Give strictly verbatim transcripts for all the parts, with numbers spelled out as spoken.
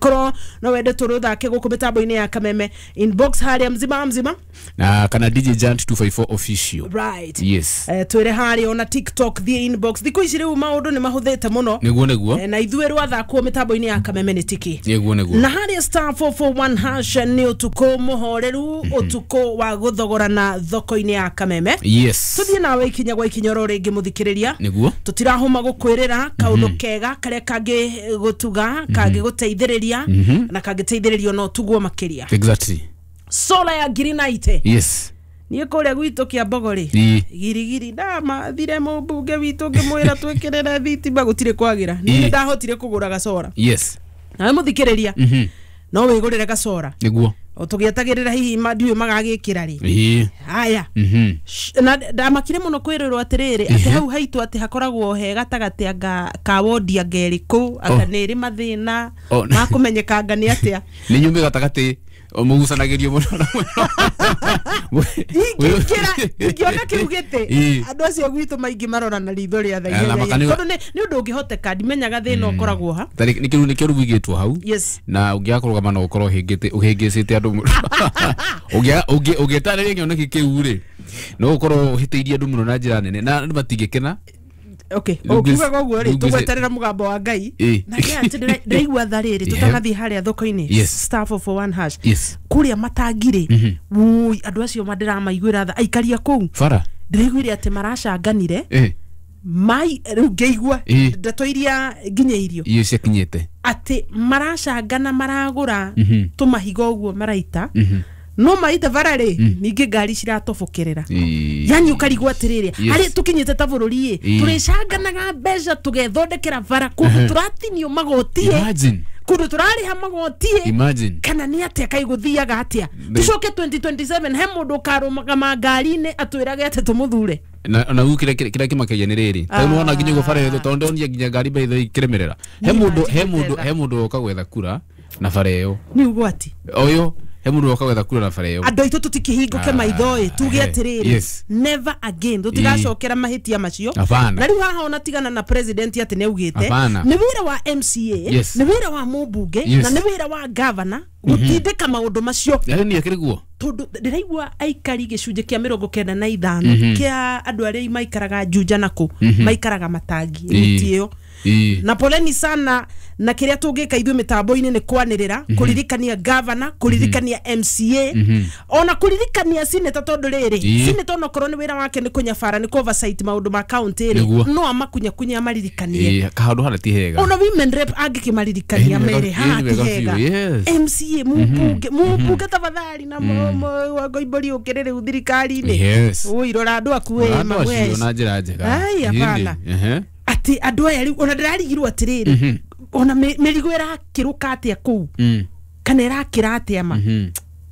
Angĩkorwo no wende tũrũthake gũkũ mĩtambo-inĩ ya Kameme, inbox harĩa mzima mzima na kana D J Giant two five four official. Right. Yes. Eh, twĩre harĩa ona TikTok, thiĩ inbox. Thikũ ici rĩu maũndũ nĩ mahũthĩte mũno. Nĩguo nĩguo. Eh, na ithuĩ rwathakwo mĩtambo-inĩ ya Kameme nĩ tiki. Nĩguo nĩguo. Na harĩa star four four one hash nĩ ũtukũ mũhoreru, ũtukũ wa gũthogorana thoko-inĩ ya Kameme. Yes. Tuthiĩ nawe ikinya gwa ikinya oro rĩngĩ mũthikĩrĩria. Nĩguo. Tũtirahũma gũkwĩrĩra kaũndũ kega karĩa kangĩgũtuga, kangĩgũteithĩrĩria na kangĩteithĩrĩrio no tugwo makĩria. Exactly. Solar ya green light. Yes. Niĩ kũrĩa gwitũ Kĩambogo rĩ, girigiri ndamathire mũmbunge witũ ngĩmwĩra twĩkĩrĩre thitima gũtirĩ kwagĩra. Niĩ ndahotire kũgũra gacora. Yes. Nawe mũthikĩrĩria no wĩgũrĩre gacora. Nĩguo. O tũgĩetagĩrĩra hihi ndiũĩ magagĩkĩra rĩ. Ĩĩ. Haya. Na ndamakire mũno kwĩrĩrwo atĩrĩrĩ atĩ hau haitũ atĩ hakoragwo he gatagatĩ anga ka wodi anga ĩrĩkũ anga nĩ ĩrĩ mathĩna ma kũmenyekanga nĩ atĩa. Nĩ nyumĩ gatagatĩ mũgucanagĩrio mũno na mũno. Ingĩkĩra ingĩona kĩu gĩtĩ andũ acio gwitũ maingĩ marora na ritho rĩa tha tondũ nĩ ũndũ ũngĩhoteka ndimenyaga thĩna ũkoragwo ha. Nĩ kĩu nĩ kĩu wigĩtwo hau. Na ũngĩaga kũrũgama no ũkorwo ũhĩngĩte ũhĩngĩcĩte andũ mũno. Ũngĩ ũngĩtarĩria kĩoneki kĩu rĩ no ũkorwo ũhĩtĩirie andũ mũno na njĩra nene na andũ matingĩkena. Okay, ũkiuga ũguo rĩ tũgweterera mũgambo wa Ngai na nĩ atĩ ndĩraigua tha rĩrĩ tũtanathiĩ harĩa thoko-inĩ star four four one hash kũrĩa matangi rĩ wui andũ acio mandĩramaiguĩra tha aikaria kũu bara ndĩraiguire atĩ maracanganire mai rĩu ngĩigua ndeto iria nginyĩirio icio ciakinyĩte atĩ maracangana maragũra tũmahiga ũguo maraita no maita bara rĩ ningĩ ngari ciratobokerera. Yani ũkarigwo atĩrĩrĩ harĩa tũkinyĩte ta bũrũri ĩ tũrĩcanganaga mbeca tũgethondekera bara kũndũ tũratinio magoti ĩ kũndũ tũrarĩha magoti ĩ kana nĩ atĩa kaĩ gũthiaga atĩa. Tũcoke twenty twenty seven he mũndũ ũkarũgama ngari-inĩ atwĩrage atĩ tũmũthure. Na na u kĩrĩa kĩrĩa kĩmakagia nĩ rĩrĩ tondũ nĩwona nginya ũguo bara ĩyo tondũ ndonire nginya ngari by the way ikĩremerera he mũndũ he mũndũ he mũndũ woka gwetha kura na bara ĩyo nĩ ũgwati ũyũ he mũndũ woka gwetha kura na bara ĩyo. Andũ aitũ tũtikĩhingũke maitho ĩ tuge atĩrĩrĩ never again tũtigacokera mahĩtia macio. Na rĩu haha ona tigana na president atĩ nĩ augĩte nĩ wĩra wa M C A nĩ wĩra wa mũmbunge na nĩ wĩra wa governor gũtindĩka maũndũ macio. Nĩ akĩrĩ guo tondũ ndĩraigua aikari gĩcunjĩ kĩa mĩrongo kenda na ithano kĩa andũ arĩa maikaraga Juja na kũ maikaraga matangi mĩtĩ ĩyo. Na poleni sana na kĩrĩa tũngĩka ithuĩ mĩtambo-inĩ nĩ kwanĩrĩra kũririkania governor kũririkania M C A ona kũririkania senator tondũ rĩrĩ senator onokorwo nĩ wĩra wake nĩ kũnyabara nĩ oversight maũndũ ma county rĩ no amakunyakunya amaririkanie kaũndũ harĩa ti hega ona women rep angĩkĩmaririkania mere haha ti hega M C A mũmbunge mũmbunge tafadhali na Ngoimbori ũkĩrĩ rĩu thirikari-inĩ ũi rora andũ aku ĩ magwe na njĩra njega. Ai hapana atĩ andũ aya rĩu ona ndĩrarigirwo atĩrĩrĩ ona mĩrigo ĩrakĩrũka atĩa kũu kana ĩrakĩra atĩa ma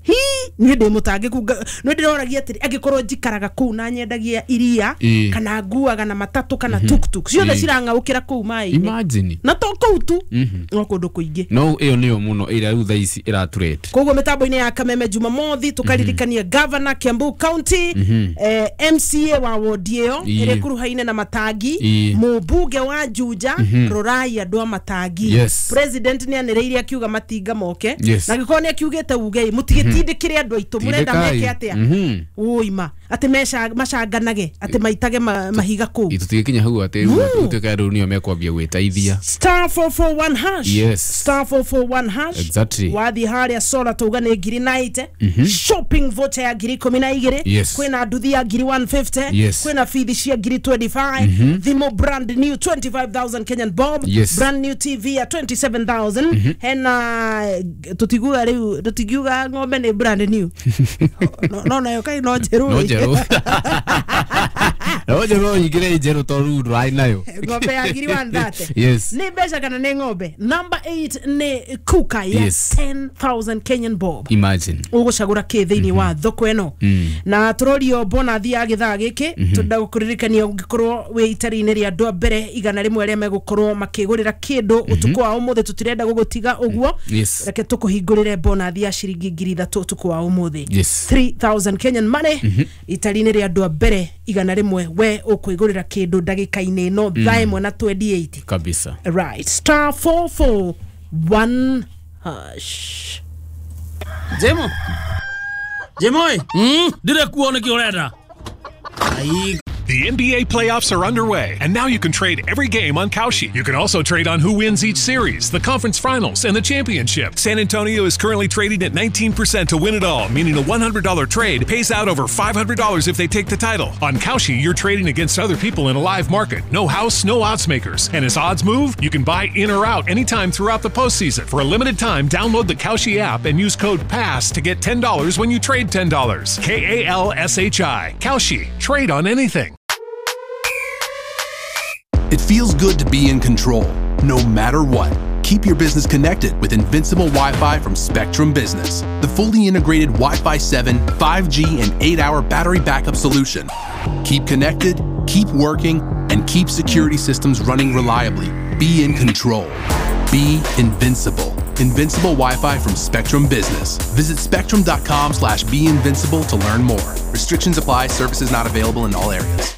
hi niĩ ndĩ mũtangĩku no ndĩroragia atĩrĩ angĩkorwo njikaraga kũu na nyendagia iria kana nguaga na matatũ kana tuktuk ciothe cirang'aũkĩra kũu maĩ-inĩ. Imagine. Na to kũu tu no kũndũ kũingĩ no ĩyo nĩyo mũno ĩrĩa rĩu thaa ici ĩraturete. Koguo mĩtambo-inĩ ya Kameme Jumamothi tũkaririkania governor Kiambu County eh, M C A wa wodi ĩyo ĩrĩa ĩkuruhaine na matangi mũmbunge wa Juja rorai andũ a matangi. President nĩ anĩrĩire akiuga matinga moke na angĩkorwo nĩ akiugĩte uge mũtigĩtindĩkĩre andũ aitũ mũrenda meke atĩa ũima atĩ macanganage atĩ maitage mahiga kũu tũtigĩkinya hau atĩ rĩu rĩu nĩo mekwambia gwĩteithia. Star four four one hash. Yes. Star four four one hash. Exactly. Wathiĩ harĩa solar tauga nĩ ngiri ninety shopping voucher ya ngiri ikũmi na igĩrĩ kwĩna nduthi ya ngiri one fifty kwĩna bithi cia ngiri twenty five thimũ brand new twenty five thousand Kenyan bob brand new T V ya twenty seven thousand hena tũtiguga rĩu tũtingiuga ng'ombe nĩ brand new no nayo kai no njerũ no njerũ no njerũ nyingĩre njerũ tondũ ndũrarĩ nayo ng'ombe ya ngiri one thirty. Yes. Nĩ mbeca kana nĩ ng'ombe. Number eight nĩ kuka ya ten thousand Kenyan bob. Imagine. Ũgũcagũra kĩ thĩinĩ wa thoko ĩno na tũrorio bonathi ya gĩthaa gĩkĩ tũrenda gũkũririkania ũngĩkorwo wĩ itari-inĩ rĩa andũ a mbere igana rĩmwe arĩa megũkorwo makĩgũrĩra kĩndũ ũtukũ wa ũmũthĩ tũtirenda gũgũtiga ũguo reke tũkũhingũrĩre bonathi ya ciringi ngiri ithatũ ũtukũ wa ũmũthĩ three thousand Kenyan money itari-inĩ rĩa andũ a mbere igana rĩmwe we ũkwĩgũrĩra kĩndũ ndagĩka-inĩ ĩno thaa ĩmwe na twenty eight kabisa. Right. Star four four one hash. Jemo Jemo mm dire kuo niki urenda. Ai. The N B A playoffs are underway, and now you can trade every game on Kalshi. You can also trade on who wins each series, the conference finals, and the championship. San Antonio is currently trading at nineteen percent to win it all, meaning a one hundred dollar trade pays out over five hundred dollars if they take the title. On Kalshi, you're trading against other people in a live market. No house, no odds makers. And as odds move, you can buy in or out anytime throughout the postseason. For a limited time, download the Kalshi app and use code PASS to get ten dollars when you trade ten dollars. K A L S H I. Kalshi. Trade on anything. It feels good to be in control, no matter what. Keep your business connected with Invincible Wi-Fi from Spectrum Business, the fully integrated Wi-Fi seven, five G, and eight hour battery backup solution. Keep connected, keep working, and keep security systems running reliably. Be in control. Be invincible. Invincible Wi-Fi from Spectrum Business. Visit spectrum.com slash be invincible to learn more. Restrictions apply. Services not available in all areas.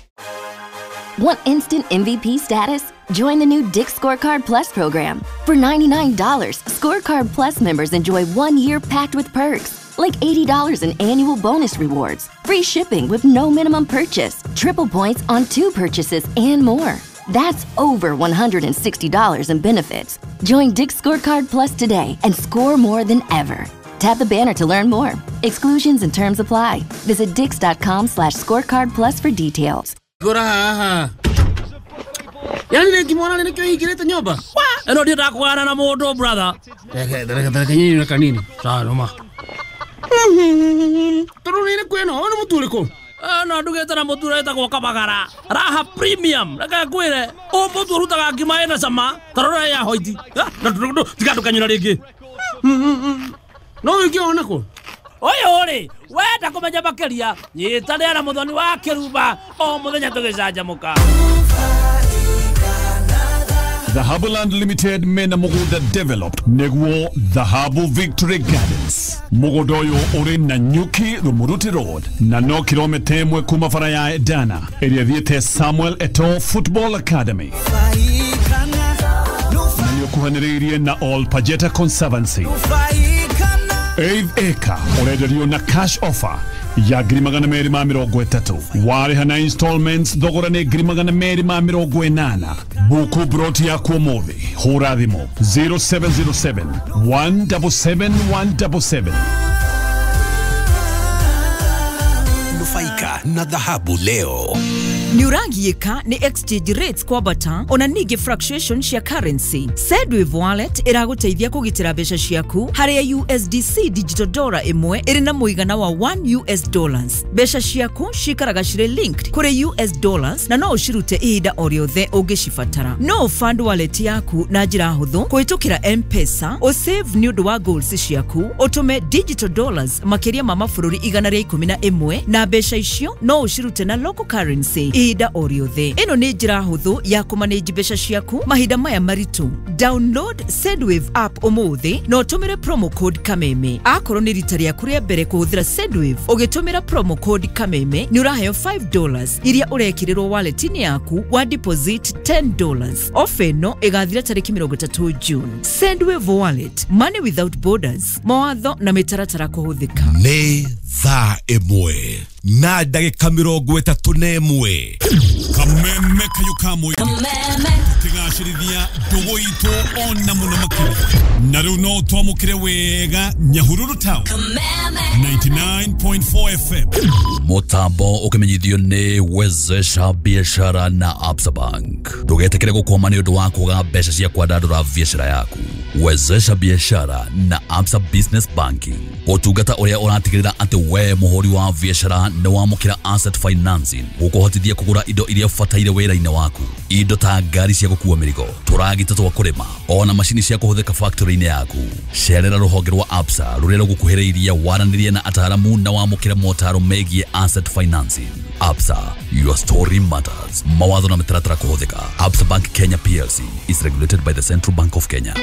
Want instant M V P status? Join the new Dick's Scorecard Plus program. For ninety-nine dollars, Scorecard Plus members enjoy one year packed with perks, like eighty dollars in annual bonus rewards, free shipping with no minimum purchase, triple points on two purchases, and more. That's over one hundred sixty dollars in benefits. Join Dick's Scorecard Plus today and score more than ever. Tap the banner to learn more. Exclusions and terms apply. Visit dicks.com slash scorecard plus for details. Gora haha. Yani nikimwona nikio hingirite nyumba. Eno ndio ndakugana na mundu brother. Reke reke reke nyinyi na kanini. Sawa noma. Turu ni kweno ono mutu uriku? No ndugete na mutu uretagwo Kabagara. Raha premium. Reke ngwire o mutu urutaga ngima ina cama. Tarora ya hoiti. Na tiga ndukanyura ringi. No ukiona ko. Oyo ri wenda kumenya makiria nyitanĩra na Muthoni wa Kĩrumba o muthenya tũgĩcanjamũka. Dhahabu Land Limited mena mugunda developed neguo Dhahabu Victory Gardens. Mugunda uyu uri na Nyuki Rumuruti Road na no kilomita imwe kuma bara ya Edana ĩrĩa ĩthiĩte Samuel Eto'o Football Academy. Na nĩũkuhanĩrĩirie na All Pajeta Conservancy. Eighth acre urenderio na cash offer ya ngiri magana merĩ ma mĩrongo ĩtatũ warĩha na installments thogora nĩ ngiri magana merĩ ma mĩrongo ĩnana. Buku broti yaku ũmũthĩ hũra thimũ zero seven zero seven, one seven seven, one seven seven. Nufaika na dhahabu leo. Nĩ ũragiĩka nĩ exchange rates kwambata ona ningĩ fluctuation cia currency. Sendwave wallet ĩragũteithia kũgitĩra mbeca ciaku harĩa U S D C digital dollar ĩmwe ĩrĩ na mũigana wa one U S dollars. Mbeca ciaku cikaraga cirĩ linked kũrĩ U S dollars na no ũcirute ihinda o rĩothe ũngĩcibatara. No fund wallet yaku na njĩra hũthũ kũhĩtũkĩra M-Pesa, ũsave nĩ ũndũ wa goals ciaku, ũtũme digital dollars makĩria ma mabũrũri igana rĩa ikũmi na ĩmwe na mbeca icio no ũcirute na local currency ihinda o rĩothe. Ĩno nĩ njĩra hũthũ ya kũmanage mbeca ciaku mahinda maya maritũ. Download Sendwave app ũmũthĩ na ũtũmĩre promo code Kameme. Akorwo nĩ rita rĩaku rĩa mbere kũhũthĩra Sendwave, ũgĩtũmĩra promo code Kameme nĩ ũraheo five dollars iria ũrekĩrĩrwo wallet-inĩ yaku wa deposit ten dollars. Ofa ĩno ĩgathira tarĩki mĩrongo ĩtatũ June. Sendwave wallet, money without borders. Mawatho na mĩtaratara kũhũthĩka. Nĩ thaa ĩmwe na ndagĩka mĩrongo ĩtatũ na ĩmwe. Kameme kayo kamwe kigacirithia ndũgũ itũ ona mũno makĩria na rĩu no twamũkĩre wega Nyahururu Town ninety-nine point four F M. Mutambo ukimenyithio nĩ Wezesha Biashara na Absa Bank. Ndũgetĩkĩre gũkwama nĩ ũndũ wa kwaga mbeca cia kwandandũra biashara yaku. Wezesha Biashara na Absa Business Banking, ũtungata ũrĩa ũratigĩrĩra atĩ we mũhũri wa biashara nĩ wamũkĩra asset financing gũkũhotithia kũgũra indo iria ũbataire wĩra-inĩ waku, indo ta ngari cia gũkua mĩrigo, tũragita twa kũrĩma, ona macini cia kũhũthĩka factory-inĩ yaku. Cerera rũhonge rwa Absa rũrĩa rũgũkuhĩrĩirie waranĩrie na ataaramu na wamũkĩre motaro megiĩ asset financing. Absa, your story matters. Mawatho na mĩtaratara kũhũthĩka. Absa Bank Kenya P L C is regulated by the Central Bank of Kenya.